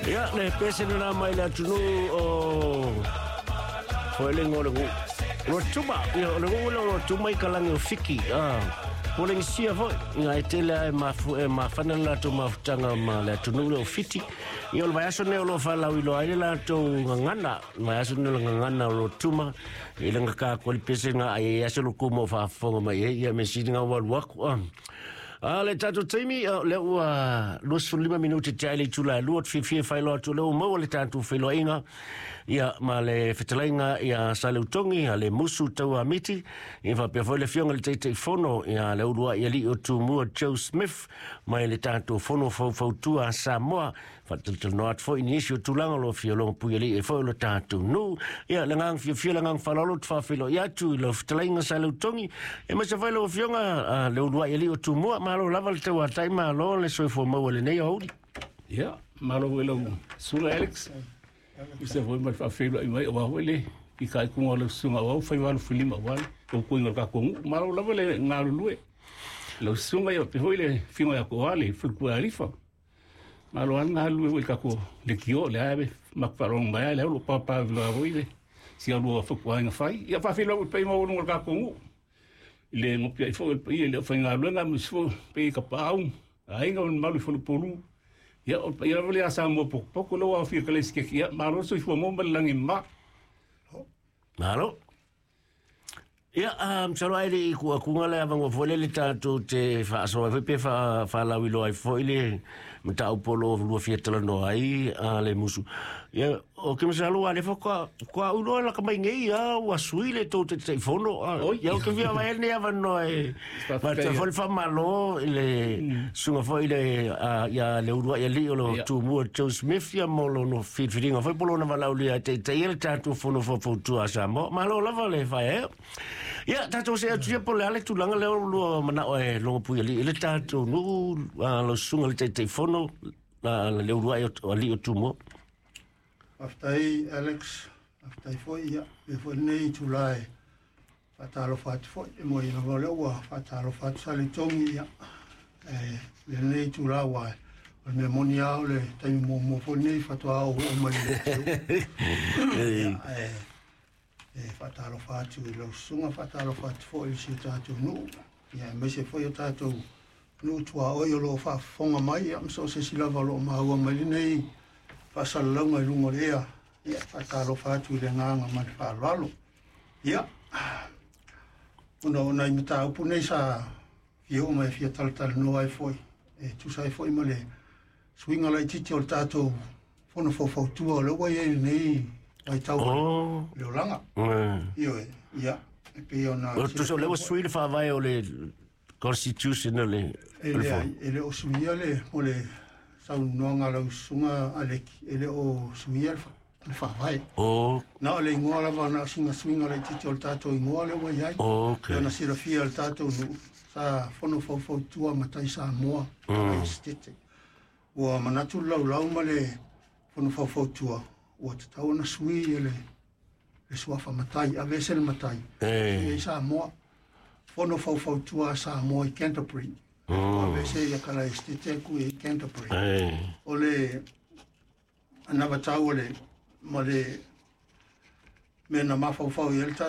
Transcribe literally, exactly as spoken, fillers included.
Ia, le pese lena mai le atunuu o Foelega o le nuu Rotuma. Ia, o le nuu lea o Rotuma i kalagi o Fiki. Ah, Polenisia foi, ia e tele ai mafu e mafana le latou mafutaga ma le atunuu lea o Fiti. Ia, o le vaiaso nei o lo o faalauiloa ai le latou gagana, le vaiaso nei o le gagana o Rotuma, i le gaka le pese nga ai aso lo kumo faafofoga mai ai, ia me sili nga ua alu aku. Ah. A le tatou taimi, lea ua luasefulu lima minute te ai le itula e lua, te fiafia e faailoa atu o lea ua maua le tatou feiloaiga ia ma le fetalaiga ia Saleutogi a le Musu Tauamiti, ia faapea foi le afioga i le Taitaifono ia le uluai alii o Tumua Joe Smith mai le tatou Fono Faufautua a Samoa, faatalatalanoa atu foi i nisi o tulaga o lo o fia logopuialii ai foi o le tatou nuu. Ia, le agaga fiafia, le agaga faaaloalo te faafeiloai atu i lau fetalaiga Saleutogi, e maise foi lau afioga le uluai alii o Tumua. Malo lava le tauatai, malo le soifua maua i lenei aoauli. Ia, malo foi lau susuga Alex. I se foi ma le faafeiloai mai aua foi le fitaituga o lau susuga aua ua fai filima aua le tautuiga o le tatou nuu. Malo lava le galulue. Lau susuga ia pe foi le afioga ia Toa le faletua Alifa. Malo lava le galulue foi i le tatou leitio lea e matou faalogo mai ai lea o lo o papa foi le si alua fatuaiga fai. Ia faafeiloai atu i le paia maualuga o le tatou nuu. I le nopiai foi o le paia i le aufaigaluega aemaise foi paia i tapaau, aiga ma le mamalu i faleupolu. Ia o le paia lava lea a Samoa potopoto lea ua aofia i Kalaisiteti. Ia malo le soifua maua ma le lagi e mama. Malo. Ia, um, masalo ai le i kuakuga le avanoa foi le le tatou te faasoa ai foi pe faalauiloa ai foi le mataupu o lo o lua fia talanoa ai a le Musu. Ia, o ke masalo a le faatoa faatoa uloa laka mai nei a ua sui le tou Taitaifono. Oi. Ia, o ke fia vaai nei avanoa e faatoa foi le faamalo i le susuga foi le ia le uluai alii o lo Ia. Tumua Joe Smith ia mo lona filifiliga foi po lona valaaulia e taitaia le tatou Fono Faufautua a Samoa. Malo lava le faeaea. Ia, tatou se atu ia po le a le tulaga lea o lua manao e logopuialii i le tatou nuu, lau susuga le Taitaifono, le uluai alii o Tumua. Faafetai Alex, faafetai foi ia e foi lenei itula e faatalofa atu foi e moi lava o lea ua faatalofa atu Saletogi ia e lenei itula ua o le mea moni lava o le taimi muamua foi lenei faatoa ou oo mai i le ia, e e faatalofa atu i lau susuga, faatalofa atu foi i si o tatou nuu ia aemaise foi o tatou nuu tuaoi o lo o faafofoga mai ia ma so o se isi lava o lo o maua mai lenei faasalalauga i luga o le ea. Ia faatalofa atu i le agaga ma le faaaloalo. Ia ona o nai mataupu nei sa fia oo mai e fia talatalanoa ai foi e tusa ai foi ma le suiga laitiiti o le tatou Fono Faufautua o lea ua i ai lenei vaitau Oh. le olaga. Mm. Ioe, ia e pei ona O tusa o lea ua sui le faavae o le constitution o le e o le leai fono. E le o suia le mo le saunoaga a lau susuga Aleki, e le o suia le fa- le faavae. Oh, Na o le igoa lava, na o sina suiga laitiiti o le tatou igoa lea ua i ai. okay. Ona silafia e le tatou nuu sa Fono Faufautua Matai Samoa mm. Esetete. Ua manatu le laulau ma le Fono Faufautua ua tatau ona sui e le le suafa matai, aveese le matai. Eh. I Samoa. Fono Faufautua a Samoa i Canterbury. Mm. Aveese ia kala Esetete ku i Canterbury. Eh. O le anavatau o le ma le mea na mafaufau i ai le tatou